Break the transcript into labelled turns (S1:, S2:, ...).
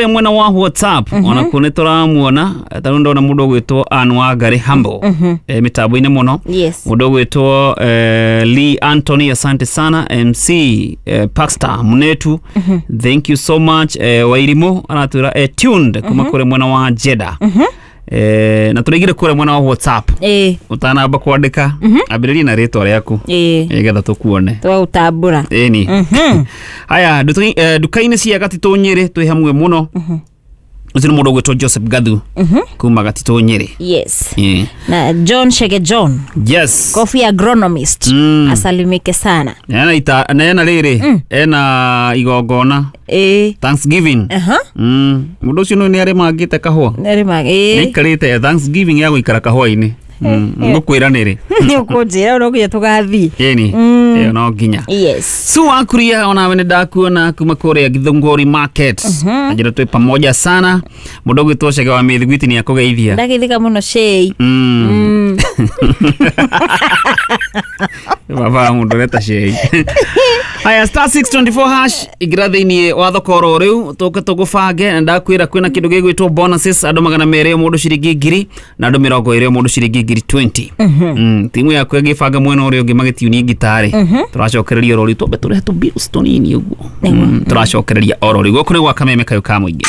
S1: Mwena wa WhatsApp ona kuo nĩ tũramuona, tarĩu ndona mũndũ ũgwĩtwo Ann Wangari Humble mĩtambo-inĩ mũno. Mũndũ ũgwĩtwo Lee Anthony, asante sana. MC Paxter Munetu, thank you so much. Wairimu aratwĩra tuned kuma kũrĩ mwena wa Jeddah. Na tũraigire kũrĩa mwena wa WhatsApp. Ũtanamba kwandĩka, ambĩrĩria na rĩtwa rĩaku nĩgetha tũkuone.
S2: Twautambũra.
S1: Ĩni haya, nduka-inĩ cia Gatitũ Nyĩrĩ twĩ hamwe mũno. Ũcio nĩ mũndũ ũgwĩtwo Joseph Gathu kuma Gatitũ Nyĩrĩ.
S2: Na John Shege John, coffee agronomist, asalimike sana.
S1: Ena ita na ena rĩrĩ, ena igongona, Thanksgiving. Mũndũ ũcio nĩ arĩmangĩte kahũa.
S2: Nĩrĩma ĩĩ.
S1: Nĩaikarĩte Thanksgiving ya gũikara kahũa-inĩ. Ngũkwĩra nĩrĩ.
S2: Nĩ ũkũnjĩra no nginya tũgathiĩ.
S1: Ĩni ĩyo no nginya. Su wakuria, onawe nĩ ndakuona kuma kũrĩa Githũngũri Market. Na njĩra twĩ pamoja sana. Mũndũ ũgwĩtwo Cege wa Mĩthiguiti nĩ akũgeithia.
S2: Ndageithĩka mũno, Shei.
S1: Baba mũndũ ũreta Shei. Haya, *624# ingĩra thĩinĩ wa thoko oro rĩu, tũke tũgũbange. Na ndakwĩra kwĩna kĩndũ gĩgwĩtwo bonuses, andũ 200 o mũndũ ciringi 1,000, na andũ 20 o mũndũ ciringi 20,000. Timu yaku ĩngĩbanga mwena ũrĩa ũngĩ magĩtiunie ngitarĩ, tũracokereria oro rĩu, twambe tũrehe tũ bills tũnini ũguo. Tũracokereria oro rĩu. Gũkũ nĩ gwa Kameme kayũ ka mũingĩ.